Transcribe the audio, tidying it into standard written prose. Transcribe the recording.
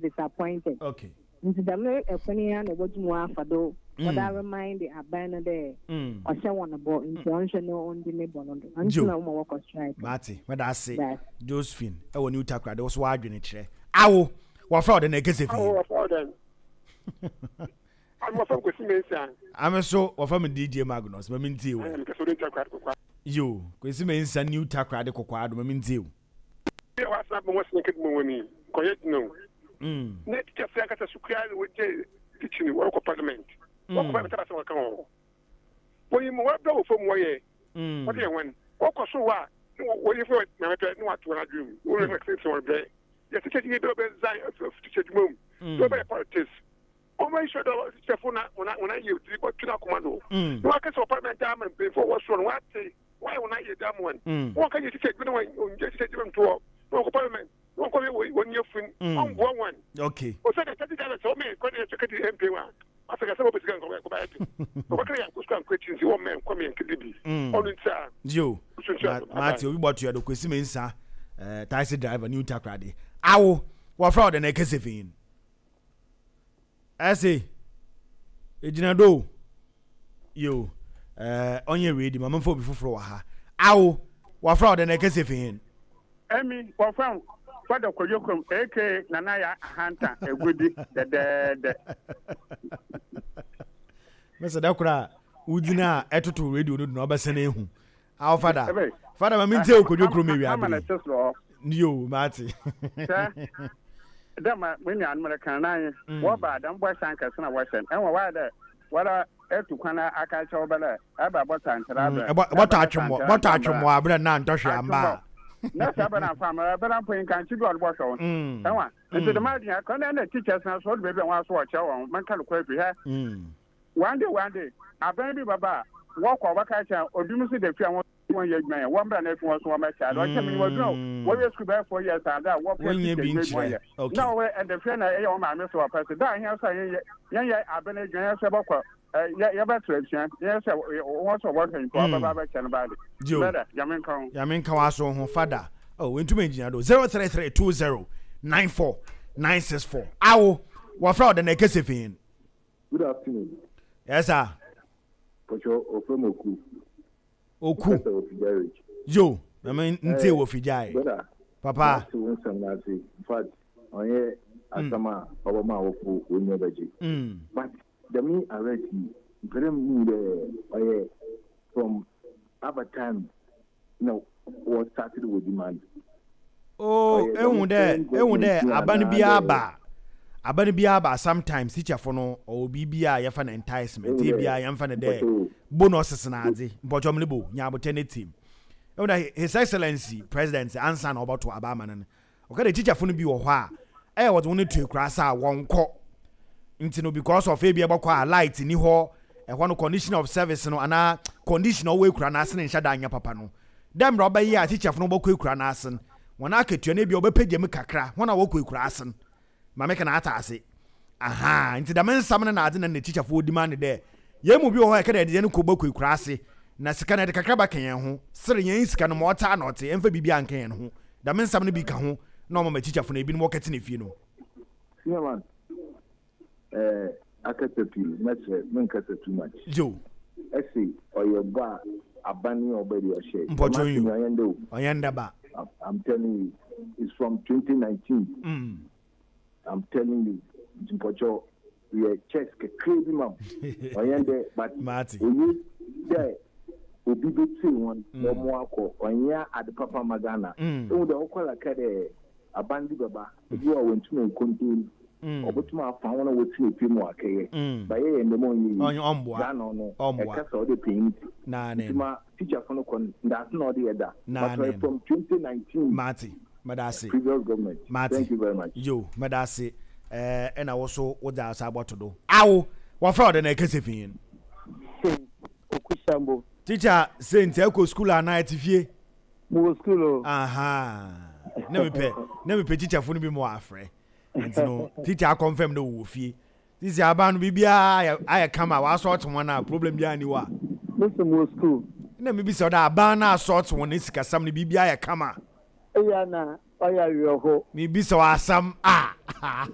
Disappointed. Okay. Ntsi dɛm kwan yi ara na obotum ɔafa do wɔdze aremind aban no dɛ ɔhyɛ hɔn bɔ ntsi ɔnhwɛ na ondzi ne bɔ no do. Ɔno ntsi na wɔma wɔkɔ strike no. Mate, meda ase Dase. Josephine ɛwɔ New Takoradi wo so w'adwene kyerɛ. Awo, wɔfrɛ wo dɛn na ɛkɛsɛ fi Awo hen? wɔfrɛ wo dɛn? Ame wɔfrɛ me Kwesi Mensah. Ame so wɔfrɛ me DJ Magnus, ma mentie wo. Ɛɛ mekasa wɔ New Takoradi Kokoado. Yo, Kwesi Mensah New Takoradi Kokoado, ma mentie wo. Bi a wɔasan abɔ ho asɛm kɛdɛ mu wɔ ni nkɔyɛ dzen o. Na teachers ankasa so koraa na wɔgye teaching wɔrokɔ parliament. Wɔkɔ parliament aba asɛm wɔka wɔ hɔ. Wɔnyim ma wɔabrɛ wɔ famu wɔyɛ wɔde yɛ hɔn. Wɔkɔ sor hɔ a na wɔyɛ fɛ ma wɔpɛ na wɔato hɔn adwen mu. Wɔn sɛ wɔn brɛ. Yɛ teachers yi bi ɔbɛ resign afi teacher adwuma mu. Na wɔbɛyɛ politics. Wɔn ayi sɔ dɛ teacherfo na wɔn wɔn ayɛ diri bɔtwe n'akoma do. Na wɔakasa wɔ parliament ama mpanyinfo a wɔwɔ sor no wɔate. Wɔayɛ wɔn ayɛ da mu wɔn. Wɔn ka yɛ titi adwuma na wɔn wɔn titi adwuma nto hɔ. Na wɔn kɔ parliament. Na wɔn kɔ yɛ wɔn wɔn yɛ fun. Wɔn boa wɔn. Okay. Ɔsɛ dɛ taxi driver sɛ wɔn mɛ kɔ de ɛsɛ kadi MP wa. Afɛ kasa wɔn bɛ sika nkɔ kɔ ba yɛ de. Wɔn kɔ yɛ nkɔ sukuu ankɔ akyi nti wɔn mɛ nkɔ mɛ nkedi bi. Ɔno nti a. Yo. Mate obi bɔ tuya do Kwesi Mensah eh, taxi driver New Takoradi. Awo wɔfrɛ ɔde na ɛkɛsɛ fi. Ɛse egyina do o. Yo, eh, ɔnyɛ ready ma memfa obi foforɔ wɔ ha. Awo, wɔfrɛ wo dɛn na ɛkɛsɛ fi hen? Emi, wɔfrɛ me Fada Kwadwo Krom aka Nana Yaa Ahantan Agudi dɛdɛɛdɛ. Mese da koro a wogyina a ɛtoto radio no do na ɔbɛsɛn ehu. Awo fada. Fada ma mentie wo Kwadwo Krom ewia bere. Yo, mate. Sɛ dɛ ma me nuanom reka no n'anye wɔba a dɛm bɔhyɛ ankɛse na wɔhyɛ no ɛwɔ wɔayɛ dɛ wɔra etu kwan aka akyerɛ wo bɛ dɛ ɛba bɔtɔ ankyerɛ abrɛ bɔtɔ atwemmɔ bɔtɔ atwemmɔ abrɛ na ntɔ hwee amba a na sɛ ɛbɛ na mfa ama ɛbɛ na mpo nkankye bi a ɔde bɔhwɛ wo ɛwa nti dɛm ade yɛn kɔ na ɛna teachers na so ɔde baabi a wɔn aso wɔkyerɛ wɔn mɛnka no kɔ afi hɛ one day one day abɛn bi bɛba a wɔkɔ wɔbɛka kyerɛ obi mu so da fi a wɔn wɔn yɛ adwuma yɛ wɔn bra na efi wɔn so wɔn bɛkyɛ ade ɔkyɛ mi wɔduru a wɔyɛ sukuu bɛyɛ 4 years ade a wɔpɛ Wɔnyɛ teacher bi adwuma nkyerɛ. yɛ Okay. Na wɔwɔ ɛdɛfɛ na ɛyɛ wɔn maame so wɔpɛ so da ahia so a yɛn yɛ yɛn yɛ abɛn adwuma yɛn so yɛbɛkɔ ɛ yɛ yɛbɛtɔ asua yɛn sɛ wɔn so wɔhwɛ nipa wɔbɛba abɛkyɛ no baade Yo. bɛda Nyame nka ho. Nyame nka w'aso ho fada. Oh, wentumi ngyina do. 03320 94964. Awo, wɔfrɛ wo dɛn na ɛkɛsɛ fi hen? Good afternoon. Yes, sir. Pɔtɔ ofrɛ mu Oku. Oku. Professor wɔ Figyarage. Yo, na me ntie wɔ Figyae. Brother. Papa. Mate wo nsɛm no ase. In fact, ɔnyɛ asɛm a ɔbɛma awofo w'enyi bɛgye. But dɛm arrest yi, mepɛ dɛ muhu dɛ ɔyɛ from aber time na wɔ started wɔ demand. Oh, Ɔyɛ ehu dɛm dɛ, current ehu government dɛ yi aba no anaa biara dɛ ba a, aba no biara ba a, sometimes teacherfo no ɔwɔ biribi a yɛfa no enticement, ehu dɛ ebia yɛmfa no dɛ mpɔkyɛw bonuses na adze, mpɔkyɛw mlebo, nya abotɛ ne team. Ehu dɛ His Excellency President ansa na ɔbɔto aba ama no no, ɔka dɛ teacherfo no bi wɔ hɔ a, ɛyɛ wɔdze hɔn to ekuraase a wɔnnkɔ. Ntsi no because of ebia ebɔkɔ a light nni hɔ, ɛhɔ no condition of service no anaa condition a ɔwɔ ekura no ase no nnhyɛ da nnyɛ papa no, dɛ mbrɛ ɔbɛyɛ a teacherfo no bɔkɔ ekura no ase no, hɔn akatua no ebia wɔbɛpegya mu kakra, hɔn a wɔkɔ ekura ase no, ma meka no atse ase. Ahaa, ntsi dɛm nsɛm no na adze na nna teacherfo wɔ demand dɛ hɛn mu bi wɔ hɔ a yɛka dɛ yɛdze hɛn kɔ bɔkɔ ekura ase na sika no yɛdze kakra bɛka hɛn ho, ser hɛn sika no ma ɔtse a na ɔtse, yɛmfa biribiara nnka hɛn ho. Dɛm nsɛm no bi ka ho na ɔma ma teacherfo no binom wɔkɛtsena fie no. Senior man, eh, akasa pii, mɛsrɛ, menkasa too much. Yo. Ɛse ɔyɛ bɔ a aban yi a ɔba yi ɔhyɛ. Mpɔkyɛw Dɛm yi asɛm yi ɔnyɛ ndɛ o. Ɔnyɛ ndɛ ba. I'm telling you, it's from 2019. I'm telling you, nti mpɔkyɛw yɛ checks kakraa bi ma m. Ɔnyɛ ndɛ but Mate. oye dɛ obi betsie hɔn na ɔmo akɔ, ɔnnyɛ ade papa mma Ghana. Ehu dɛ ɔkɔ la ka dɛ aban bi bɛba, ebi wɔ hɔ a wonntum nncontain, ɔbotum afa hɔn a wɔtse efie mu akɛyɛ, but yɛyɛ ndɛm a ɔnnyɛ yie. Ɔmmboa. Ghana ɔno, Ɔmmboa. ɛkasa a ɔdɛ panyin tse. Naane. Ntsi ma teacherfo no kɔ no, ndaase na ɔde yɛ da, but Naane. ɔyɛ from 2019 Mate. Meda ase. previous government. Mate. Thank you very much. Yo, meda ase. Ɛɛ, ɛna wo so wodze asa abɔto do. Awo, wɔfrɛ wo dɛn na ɛkɛsɛ fi hen? Saint Okusambo. Teacher Saint, ɛkɔ school anaa ɛte fie? Mowɔ school o. Aha. Na mepɛ, na mepɛ teacherfo no bi ma wɔafrɛ. Nti no, teacher akɔnfɛm dɛ wɔwɔ fie. Sisi aban no biribiara ayɛ ayɛ kama, wɔasɔɔte wɔn a problem biara nni hɔ a. Mese mowɔ school. Na mebisa wo dɛ aban no asɔɔte wɔn sikasɛm no biribiara ayɛ kama? Eya na ɔyɛ awerɛho. Mebisa wo asɛm a.